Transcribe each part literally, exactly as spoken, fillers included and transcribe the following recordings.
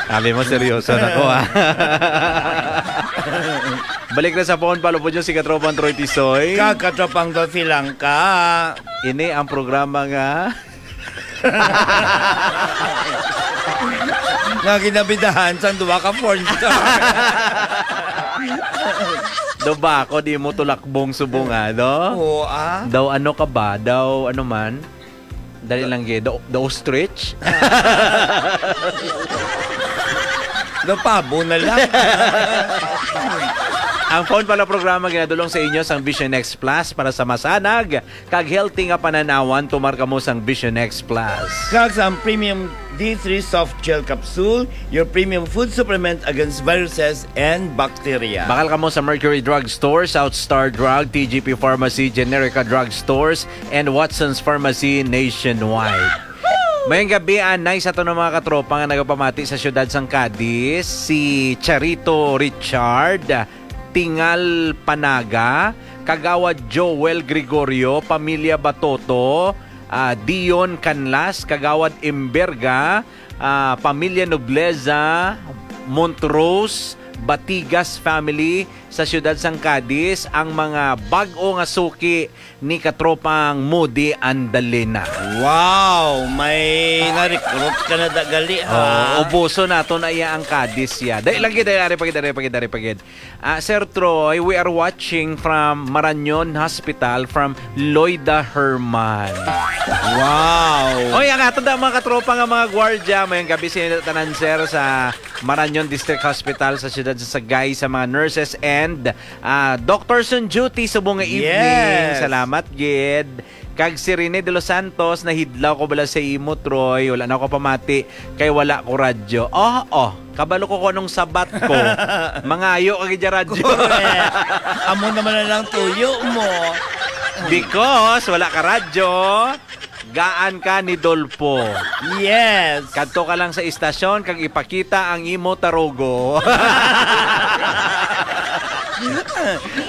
Sabi mo, seryoso na ko, ha? Balik na sa phone, palo po dyan si Katropang Troy Tisoy. Kag Katropang Dolphy Langka. Ini ang programa nga nga ginabidahan sang duha ka porn star. Do ba ako di mo tulakbong subong, ah, do? Oo, ah. Daw ano ka ba? Daw ano man? Dali lang, gid. The, the ostrich? The pabo na lang. Ang phone pala programa ginadulong sa inyo sang Vision X Plus para sa masanag kag healthy nga pananawan. Tumar kamo sang Vision X Plus. Kag sa premium D three soft gel capsule, your premium food supplement against viruses and bacteria. Bakal kamo sa Mercury Drug Store, South Star Drug, T G P Pharmacy, Generica Drug Stores, and Watson's Pharmacy nationwide. Mayong gabi, anay sa aton mga katropa nga nagapamati sa siyudad sang Cadiz, si Charito Richard, Tingal Panaga, Kagawad Joel Gregorio, Pamilya Batoto, ah, Dion Canlas, Kagawad Imberga, ah, Pamilya Nobleza, Montrose, Batigas family sa siyudad sang Cadiz, ang mga bag-o nga suki ni Katropang Moody Andalena. Wow! May na-recruit ka na da gali, ha? Oo, ubuso nato na iya ang Cadiz, ya. Dali lagi, dali, ari pagid, ari pagid, ari pagid. Ah, Sir Troy, we are watching from Marañon Hospital from Loida Herman. Wow! Oy, ang aton da mga katropa nga mga gwardya, mayong gabi sa inyo tanan, sir, sa Marañon District Hospital sa siyudad sa Sagay, sa mga nurses and, ah, doctors on duty subong nga evening. Yes. Salamat gid. Kag si Rene de los Santos, nahidlaw ko bala sa imo, Troy. Wala na ako pamati kay wala ko radyo. Oh, oh. Kabalo ko kung anong sabat ko. Mangayo ka gid sa radyo. Correct. Amo naman na lang tuyo mo. Because wala ka radyo, gaan ka ni Dolpo. Yes. Kadto ka lang sa istasyon kag ipakita ang imo tarugo.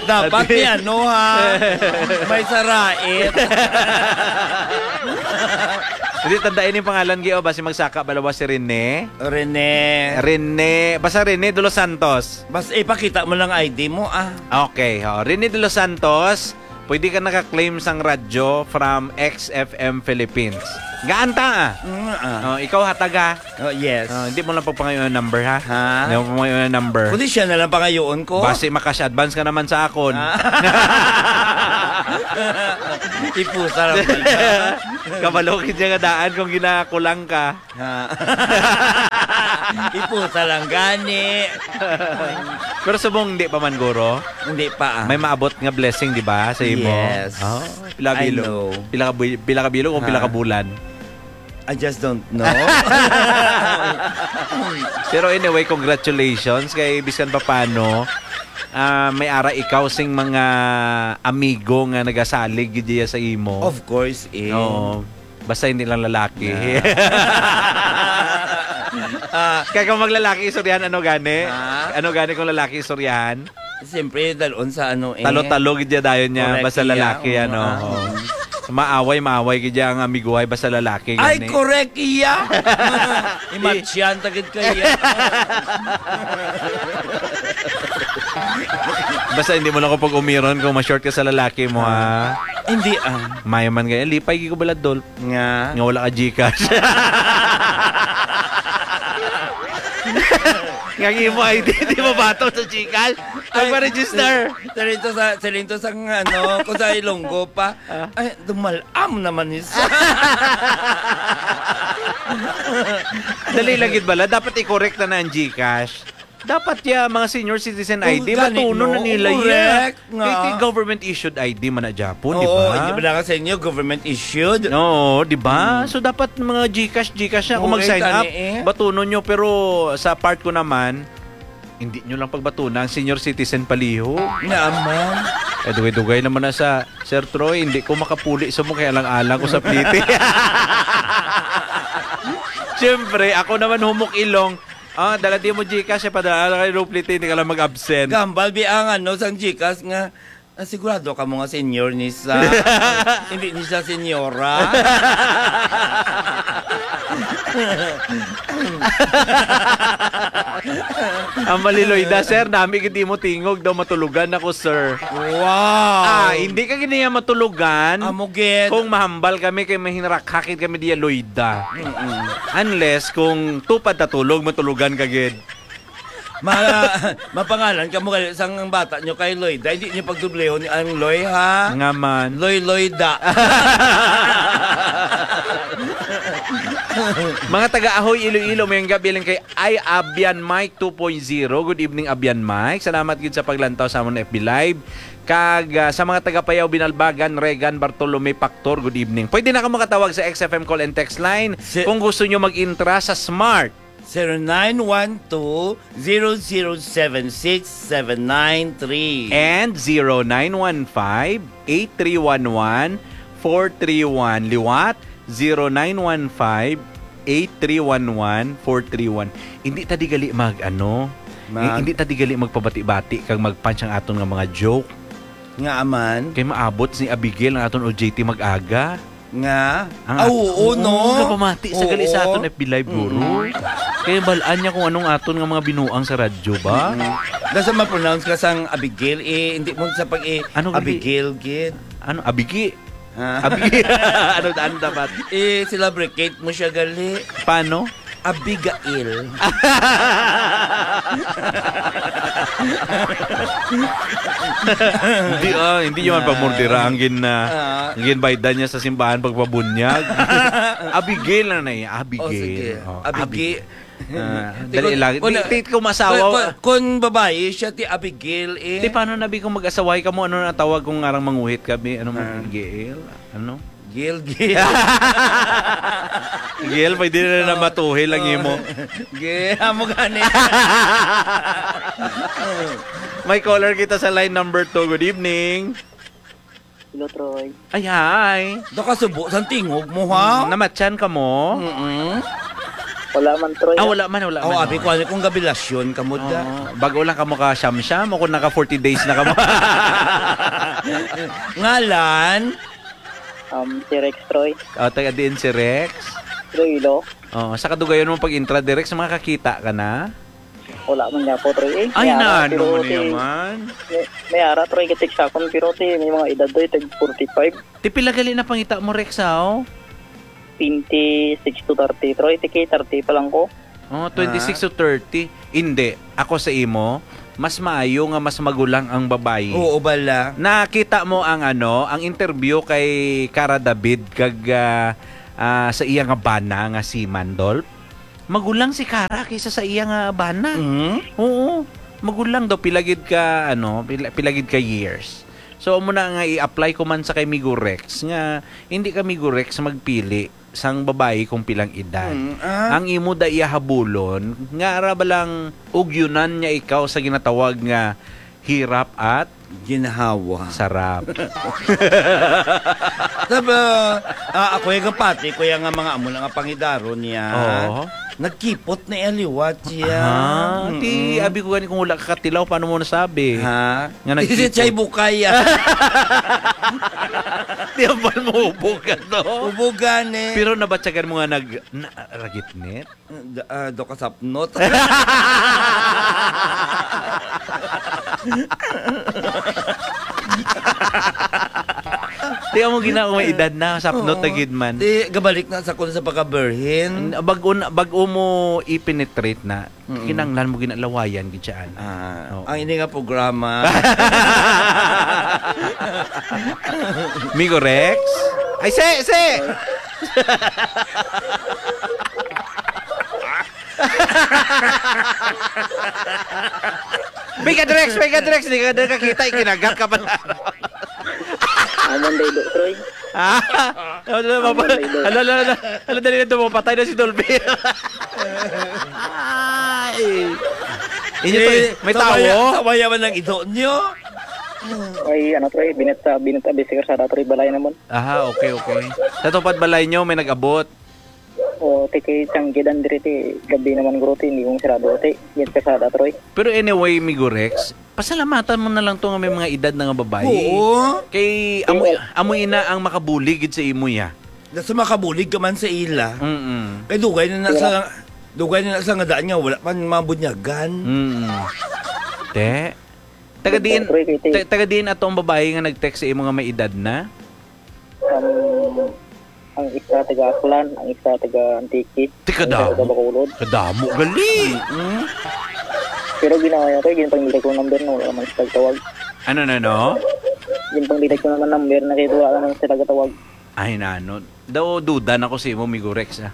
Dapat Adi. Ni ano, ha? May sarait. Hindi, tandaan yung pangalan, Gio. Basi magsaka balawa si Rene. Rene. Rene. Basta Rene de los Santos. Basta ipakita mo lang I D mo, ah. Okay, oh. Rene de los Santos, pwede ka naka-claim sang radyo from X F M Philippines. Gaan ta, ah. Mm, ah. Oh, ikaw hatag, ha? Oh, yes. Oh, hindi mo lang pagpangayoon ang number, ha? Ha? Hindi mo pagpangayoon ang number. Kundi siya na lang pangayoon ko. Basi makash advance ka naman sa akon. Ah. Ipusa lang pala. Kabalo gid niya nga daan kung ginakulang ka. Ha? Ipusa lang gani. Pero subong hindi pa man, guro. Hindi pa, ah. May maabot nga blessing, di ba, sa imo? Yes. Oh, pila I bilog? Know. Pila ka bu-, pila ka bilog o pila ka Ha? Bulan? I just don't know. Pero anyway, congratulations kay bisan pa paano, ah, may ara ikaw sing mga amigo nga nagasalig gid diya sa imo. Of course, eh. Oo. Basta hindi lang lalaki. Yeah. Ah. Kaya kung maglalaki, istoryahan, ano gani? Ha? Ano gani kung lalaki, istoryahan? Siyempre, dalon sa ano eh. Talo-talo gid ya dayon niya, Correct, basta iya, lalaki, oo, ano, ah. Oo. Maaway, maaway gid ya ang amiguhay, basta lalaki, Ay, gani. Correct, iya. Imatsyan, tagid ka, iya. Basta hindi mo lang ko pag-umiron kung ma-short ka sa lalaki mo, ha? Ah. Hindi, ah. Mayo man kaya, lipay gid ko bala, Dol. Nga? Nga wala ka GCash. Nga ang imo I D, di mabato sa GCash. Ay, Magpa-register. Siling to sa, siling to sa, ano, kung sa Ilonggo pa. Ah. Ay, dumalam naman ni sa. Dali lang gid bala. Dapat i-correct na na ang GCash. Dapat ya, mga senior citizen Oh, I D, gani, batunon na no? nila Correct yan. nga. Kay, kay government issued I D man na Japon, di Oo, ba? Hindi ba lang sa inyo, government issued? Oo, di ba? Hmm. So, dapat mga GCash, GCash na. Kung Oo, mag-sign gani up, eh. batunon nyo. Pero sa part ko naman, hindi nyo lang pagbatuna ang senior citizen paliho. Naman. Eh, dugay-dugay naman na sa, Sir Troy, hindi ko makapuli sa mo, kaya lang alang ko sa pliti. Siyempre, ako naman humok ilong. Ah, dala di mo GCash, eh, padala kay Roplete, hindi ka lang mag-absent. Gambal, bi, ang ano, sang GCash nga, ah, sigurado ka mo nga senior ni sa, hindi ni sa senyora. Ang maliloy da, sir, nami gid imo tingog daw, "Matulogan ako, sir." Wow! Ah, hindi ka gid niya matulogan. Amo gid. Kung mahambal kami kay mahinrakhakit kami diya, Loida. Mm-mm. Unless kung tupad ta tulog, matulogan ka gid. Ma-, mapangalan ka mo gali sang bata nyo kay Loida. Hindi nyo pagdublihon ang Loy, ha? Nga man. Loy Loida. Mga taga Ahoy, Iloilo, may gabi lang kay Ay Abian Mike two point zero. Good evening, Abian Mike. Salamat gid sa paglantaw sa amon F B Live. Kag, ah, sa mga taga Payaw, Binalbagan, Regan, Bartolome, Pactor, good evening. Pwede na ka makatawag sa X F M call and text line Si- kung gusto nyo mag-intra sa Smart. Zero nine one two, zero zero seven six seven nine three. And zero nine one five, eight three one one, four three one. Liwat, zero nine one five, eight three one one, four three one. Hindi ta di gali mag, ano, Mag- hindi ta di gali magpabati-bati kag mag-punch ang aton nga mga joke. Nga aman? Kay maabot si Abigail ang aton O J T mag-aga. Nga? Ang Ah, at-, oo, oo, no? Kapamati sa gali sa Oo. aton F B Live, guro. Mm. Kaya balaan niya kung anong aton nga mga binuang sa radyo ba? Mm. Nasa ma-pronounce ka sang Abigail, eh, hindi mo sa pag-, eh, Ano gali? Abigail, gid. Ano? Abigi? Ha? Abigi? Ano, ano dapat? Eh, sila bricate mo siya, gali. Paano? Abigail. Hindi, ah, hindi yun man Ah. pamurdira ang gin-, ah, Ah. ang ginbaydan niya sa simbahan pagpabunyag. Abigail na na eh, Abigail. Oh, sige. Oh, Abigi. Abigail. Ah, Di dali ko, lang. Di, una, di ko masawa. Kung, kung, kung babayi siya, ti Abigail, eh. Di paano na bi kung mag-asaway ka mo? Ano na tawag kung ngarang manguhit ka, bi? Ano mo, Ah. Gail? Ano? Gail, Gail. Gail, pwede na na Oh. matuhil ang Oh. imo. Gail, amo gani. May caller kita sa line number two. Good evening. Hello, Troy. Ay, hi. Da ka subo sang tingog mo, ha? Mm, namatyan ka mo? Mm-mm. Wala man, Troy, Ah, ah. wala man, wala Oh, man, abi oh. ko, ano kung gabilasyon ka mo, da? Oo. Bago lang ka mo ka siyam-siyam o kung naka forty days na ka mo? Ngalan? Um, si Rex, Troy. Oh, taga diin si Rex? Iloilo. Oh, sa kadugayon mo pag-intra, Rex, makakita ka na? Wala man niya po, Troy, eh. Ay, May ara, na, pero ano mo na ti-, yaman? may, may ara, Troy, katik sa akon, pero ti, may mga edad, Troy, tag forty-five. Ti pila gali na pangita mo, Rex, ha, oh? Twenty-six to thirty, Troy. Ti kay thirty pa lang ko. Oh, twenty-six Ah. to thirty. Hindi. Ako sa imo, mas maayo nga mas magulang ang babayi. Oo, bala. Nakita mo ang, ano, ang interview kay Cara David kag, ah, ah, sa iya nga bana nga si Mandolf? Magulang si Cara kaysa sa iya nga bana. Mhm. Oo. Magulang daw, pila gid ka, ano, pila, pila gid ka years. So, amo na nga i-apply ko man sa kay Migo Rex nga hindi ka, Migo Rex, magpili sang babayi kung pilang edad. Mm, ah. Ang imo da iya habulon, nga ara ba lang ugyunan niya ikaw sa ginatawag nga hirap at Ginhawa. Sarap. Sab-, ah, ako yung kapati, kuya nga mga amo na nga pangidaron niya. Oo. Nagkipot na iya liwat siya. Ah, ti, Mm-mm. abi ko gani kung wala ka katilaw, paano mo nasabi? Ha? Nga Is it nagkipot? Chay Bukay, ah? Di, ambal mo, ubog ka to. Ubugan, eh. Pero nabatyagan mo nga nag-, na-, ragitnit? Da-, ah, do ka sapnot. Di mo gina-, may edad na, sapnot Oo. na gid man. Di, gabalik na sa kun sa pagka-virgin. Bag-o na, bag-o mo i-penetrate na, Mm. kinanglan mo ginalawayan gid siya, ana. Ah, Oo. ang ini nga programa. Migo Rex? Ay, si, si! Mega Drex, Mega Drex, di ka na kakita, ikinagat ka pala. Amon day do, Troy. Ah, ala, ala, Amon ala, day do. ala, ala, ala, ala, dali na, tumapatay na si Dolby. Ay. Inyo to, Eh, eh. May sabaya, tawo? Sabaya man ang ido nyo. Ay, ano, Troy, binit sa, binit sa, bisi karsada, Troy, balay naman. Aha, okay, okay. Sa tupad balay nyo, may nag-abot? O, ti kay sang gidan diri ti gabi naman, guro, ti hindi kong sarado, ti. Yan kasada, Troy. Pero anyway, Migo Rex, pasalamatan mo na lang to nga may mga edad na nga babae. Oo. Kay amo, Oo. amo ina ang makabulig gid sa imo, ya. Nasa makabulig ka man sa ila. Mm-mm. Kay dugay na na sa, dugay na na sa nga daan nga wala pa mabunyagan. Mm. Te? Taga diin, Pre, kay ti- ta-, taga diin ato ang babae nga nag-text sa imo nga may edad na? Ang, ang isa taga Aklan, ang isa taga Antique, Ti ang isa kadamo. taga Bacolod. Kadamo gali. Mm. Pero ginawa niya, kay ginpangita ko number na wala naman sila tawag. Ano na, no? Ginpangita ko naman number na kay wala naman sila tawag. Ay, nano. Daw duda na ko sa imo, Migo Rex, ah.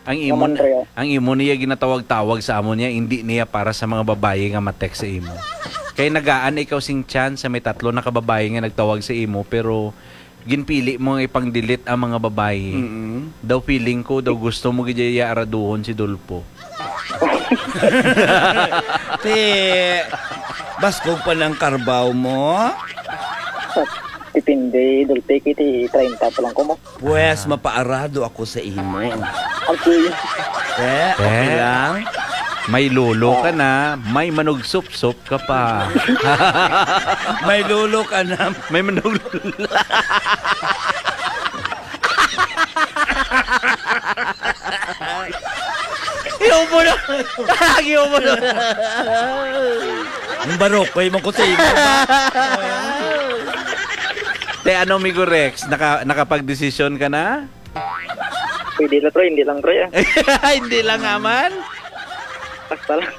Ang imo, Naman, pre, ah. ang imo niya ginatawag-tawag sa amo niya, hindi niya para sa mga babayi nga ma-text sa imo. Kay nagaan ikaw sing chance sa may tatlo na ka babayi nga nagtawag sa imo, pero ginpili mo nga ipang-delete ang mga babayi. Mm-mm. Daw feeling ko, daw gusto mo gid iya araduhon si Dolpo. Te, baskog pa ng karbaw mo? Depende, Dolpe, kiti treinta pa lang ko mo. Pwes, Ah. mapaarado ako sa imo. Okay. Eh, okay Eh. lang? May lolo ka Ah. na, may manugsupsop ka pa. May lolo ka na. May manug-, Yung mo na. Yung mo na. Yung barokoy mo ko sa imo. Te, ano, Migo Rex? Naka-, nakapagdesisyon ka na? Pwede na, Troy. Hindi lang, Troy, ah. Hindi lang nga man. Basta lang.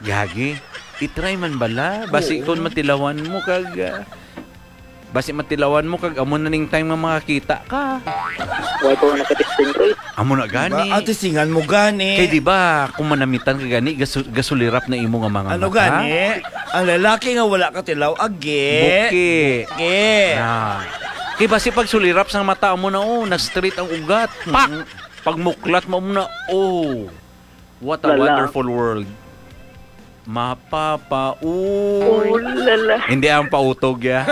Gagi. I-try man bala. Basi Oo. kung matilawan mo kag, ah, basi matilawan mo kag amo na ning time nga makakita ka. Wala pa ako nakatesting, Troy. Amo na gani. Diba? Ah, testingan mo gani. Kay di ba, kung manamitan ka gani, gasu-, gasulirap na imo nga mga Ano mata. gani? Ang lalaki nga wala katilaw, agi. Buki. Buki. Na. Kay basi pag sulirap sang mata mo na, oh, na-straight ang ugat. Pak! Mm-mm. Pag muklat mo na, oh. What a Lala. wonderful world. Mapapa-, Oh, lala. Hindi ang pautog, ya.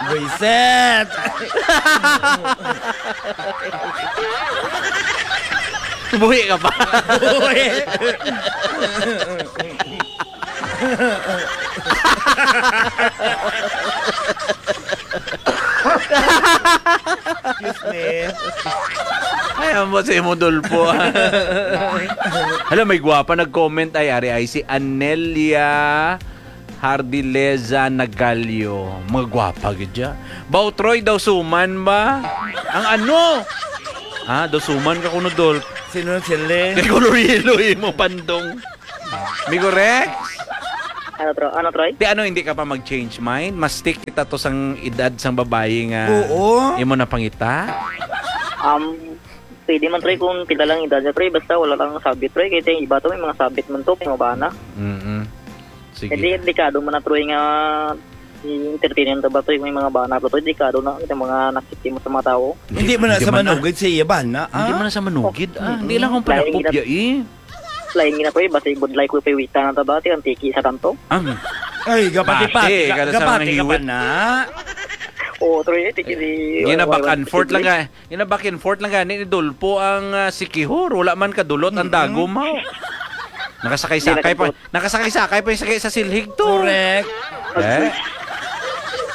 Buiset! Buhi ka pa. Buhi. Excuse me. Ay, amo si imo, Dolpo, ah. Hala, may gwapa nag-comment ay, ari ay si Anelia Hardileza Nagalio. Mga gwapa gid ya. Bautroy daw suman ba? Ang ano? Ah, daw suman ka kuno, Dolp. Sino ang sili? Kay color yellow imo, pandong. Migo Rex? Ano, Tro-, ano, Troy? Ti ano, hindi ka pa mag-change mind? Mas stick kita to sang edad sang babayi nga Oo. imo na pangita? Um, pwede man, Troy, kung pila lang edad niya, Troy. Basta wala lang sabit, Troy. Kaya yung iba to, may mga sabit man to, may mga bana. Mm-mm. Sige. Hindi, delikado man na, Troy, nga i-entertain ta ba, Troy, may mga bana, Troy. Delikado na, yung mga nakikita mo sa mga tao. Hindi man na Hindi sa man na. manugid sa iya bana, Hindi ah? man na sa manugid, ah. Hindi Mm-mm. lang akong Lain panakop, gina- ya, eh. Lain gina, Troy, basta yung budlay ko, pay wita na ta ba, ti ang tiki sa tanto. Ang Ay, gapati-pati Pati, ka, kada sa mga gapati ka pa hiwit. na. Oo, Troy, eh, tiki di, Gina wala, back wala, and forth lang tiki. ka. Gina back and forth lang gani ni Dolpo ang, ah, sikihor. Wala man kadulot ang Mm-mm. dagom, haw. Nakasakay-sakay Hindi pa. nakadulot. Nakasakay-sakay pa yung sakay sa silhig to. Correct. Eh?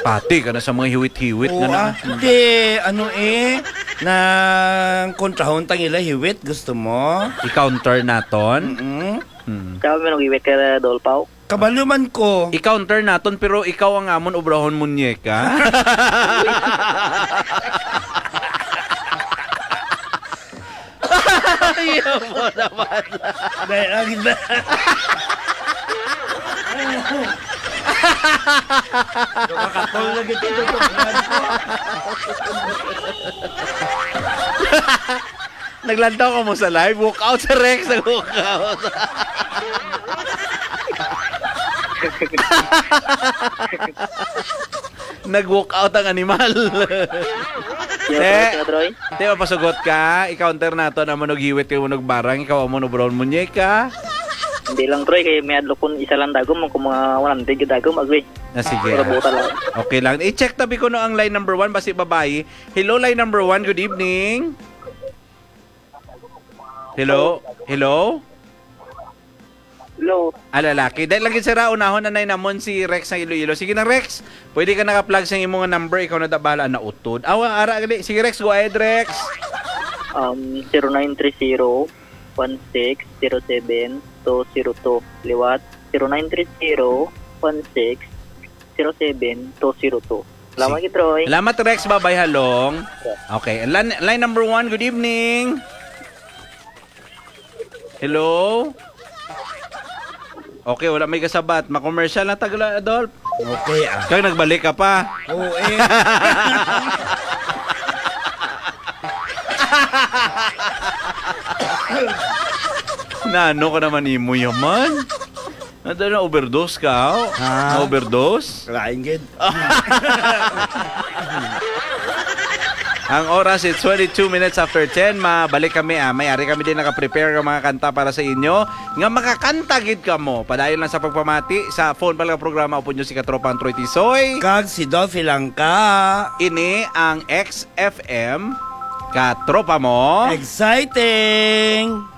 Pati ka na sa mga hiwit-hiwit Oo, nga na. ah. Di, ano eh, nang kontrahon tang ila hiwit, gusto mo? I-counter naton? Mm-mm. Hmm. Kaya may nag-iwit ka na, Dolpaw? Kabalo man ko. I-counter naton, pero ikaw ang amon obrahon, munyeka. Ayaw mo naman. Dahil ang ganda. Makakatol na gito, tutukan ko. Naglantaw ka mo sa live? Walk out sa Rex, nag-walk out. Nag-walk out ang animal. Yo, Eh, Troy, Troy. Di ba pasugot ka? I-counter nato na manughiwit kay manugbarang, ikaw ang manubron munyeka. Hindi lang, Troy, kay may adlok kun isa lang dagom, kung mga one hundred ka dagom, agwi. Ah, sige. Pero buta lang. Okay lang. I-check tabi ko no ang line number one, basi babayi. Hello, line number one, good evening. Hello? Hello? Hello. Ah, lalaki. Dahil lagi sira, unahon na nay namon si Rex ng Iloilo. Sige na, Rex. Pwede ka naka-plug sa imo nga number. Ikaw na da bahala na utod. Awa, ara gali. Sige, Rex. Go ahead, Rex. Um, zero nine three zero, one six zero seven, two zero two. Liwat, zero nine three zero, one six zero seven, two zero two. Salamat, Troy. Salamat, Rex. Babay, halong. Okay. Line, line number one, good evening. Hello? Okay, wala may kasabat. Ma-commercial na tagla, Adolf. Okay ah. Kag nagbalik ka pa. Oo eh. Nano ka naman imo yaman? Nado na overdose ka, oh? Ha? Na-overdose? Lain gid. Ang oras is twenty-two minutes after ten. Mabalik kami, ah. May ari kami din naka-prepare ng mga kanta para sa inyo. Nga makakanta gid kamo. Padayon lang sa pagpamati sa phone pala programa upod nyo si Katropang Troy Tisoy. Kag si Dolphy lang ka. Ini ang X F M Katropa mo. Exciting!